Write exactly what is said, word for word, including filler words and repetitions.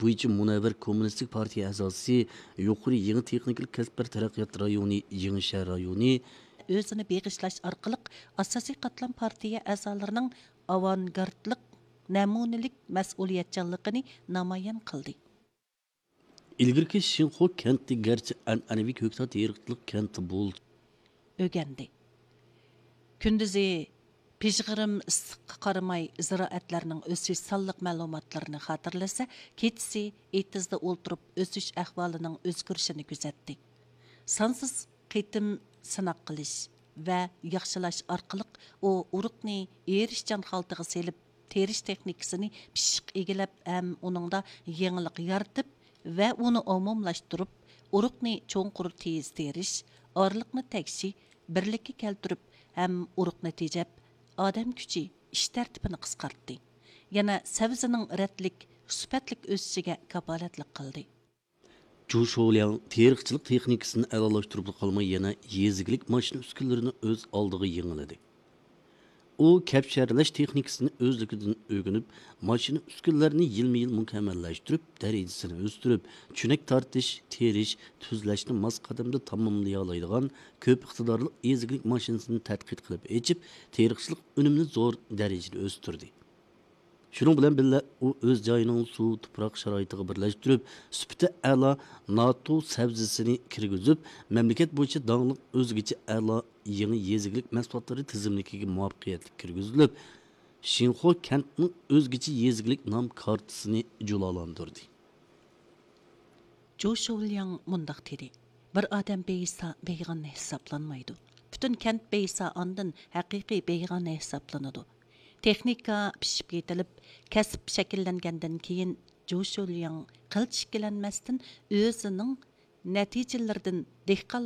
بويىچە مۇنەۋۋەر كوممۇنىستىك پارتىيە ئەزاسى، يۇقىرى يېڭى تېخنىكىلىق كەسىپلەر تەرەققىيات رايونى، يېڭى شەھەر رايونى، ئۆزىنى بېغىشلاش ئارقىلىق ئاساسىي قاتلام پارتىيە ئەزالىرىنىڭ ئاۋانگارتلىق، نەمۇنىلىك مەسئۇلىيەتچانلىقىنى نامايان قىلدى. ئىلگىرىكى شىنخۇا كەنتى گەرچە ئەنئەنىۋى كۆكتات تېرىقچىلىق كەنتى بولدى. ئۆگەندى. كۈندۈزى پىژغىرىم ئىسسىققا قارىماي، زىرائەتلەرنىڭ ئۆسۈش سانلىق مەلۇماتلىرىنى خاتىرىلىسە، كېچىسى ئېتىزدا ئولتۇرۇپ ئۆسۈش ئەھۋالىنىڭ ئۆزگىرىشىنى كۆزەتتى. سانسىز قېتىم سىناق قىلىش ۋە ياخشىلاش ئارقىلىق ئۇ ئۇرۇقنى ئېرىشچان خالتىغا سېلىپ، تېرىش تېخنىكىسىنى پىششىق ئىگىلەپ ھەم ئۇنىڭدا يېڭىلىق يارىتىپ ۋە ئۇنى ئومۇملاشتۇرۇپ، ئۇرۇقنى چوڭقۇر تېيىز تېرىش، ئارىلىقنى تەكشى بىرلىككە كەلتۈرۈپ ھەم ئۇرۇقنى تېجەپ، ئادەم كۈچى، ئىش تەرتىپىنى قىسقارتتى. يەنە سەۋزىنىڭ رەتلىك، سۈپەتلىك ئۆسۈشىگە كاپالەتلىك قىلدى. جۇ شولياڭ تېرىقچىلىق تېخنىكىسىنى ئەلالاشتۇرۇپلا قالماي، يەنە يېزا ئىگىلىك ماشىنا ئۈسكۈنىلىرىنى ئۆز ئالدىغا يېڭىلىدى. ئۇ كەپشەرلەش تېخنىكىسىنى ئۆزلۈكىدىن ئۆگىنىپ، ماشىنا ئۈسكۈنىلەرنى يىلمۇ يىل مۇكەممەللەشتۈرۈپ، دەرىجىسىنى ئۆستۈرۈپ، چۆنەك تارتىش، تېرىش، تۈزلەشنى ماس قەدەمدە تاماملىيالايدىغان كۆپ ئىقتىدارلىق يېزا ئىگىلىك ماشىنىسىنى تەتقىق قىلىپ ئېچىپ، تېرىقچىلىق ئۈنۈمىنى زور دەرىجىدە ئۆستۈردى. شۇنىڭ بىلەن بىللە، ئۇ ئۆز جايىنىڭ سۇ، تۇپراق شارائىتىغا بىرلەشتۈرۈپ، سۈپىتى ئەلا ناتو سەۋزىسىنى كىرگۈزۈپ، مەملىكەت بويىچە داڭلىق ئۆزگىچە ئەلا يېڭى يېزا ئىگىلىك مەھسۇلاتلىرى تىزىملىكىگە مۇۋەپپەقىيەتلىك كىرگۈزۈلۈپ، شىنخۇا كەنتىنىڭ ئۆزگىچە يېزا ئىگىلىك نام كارتىسىنى جۇلالاندۇردى. جۇ شولياڭ مۇنداق دېدى: بىر ئادەم بېيىسا، بېيىغان ھېسابلانمايدۇ. پۈتۈن كەنت بېيىسا، ئاندىن ھەقىقىي بېيىغان ھېسابلىنىدۇ. تېخنىكا پىشىپ يېتىلىپ، كەسىپ شەكىللەنگەندىن كېيىن، جۇ شولياڭ قىلچە ئىككىلەنمەستىن ئۆزىنىڭ نەتىجىلىرىدىن دېھقانلار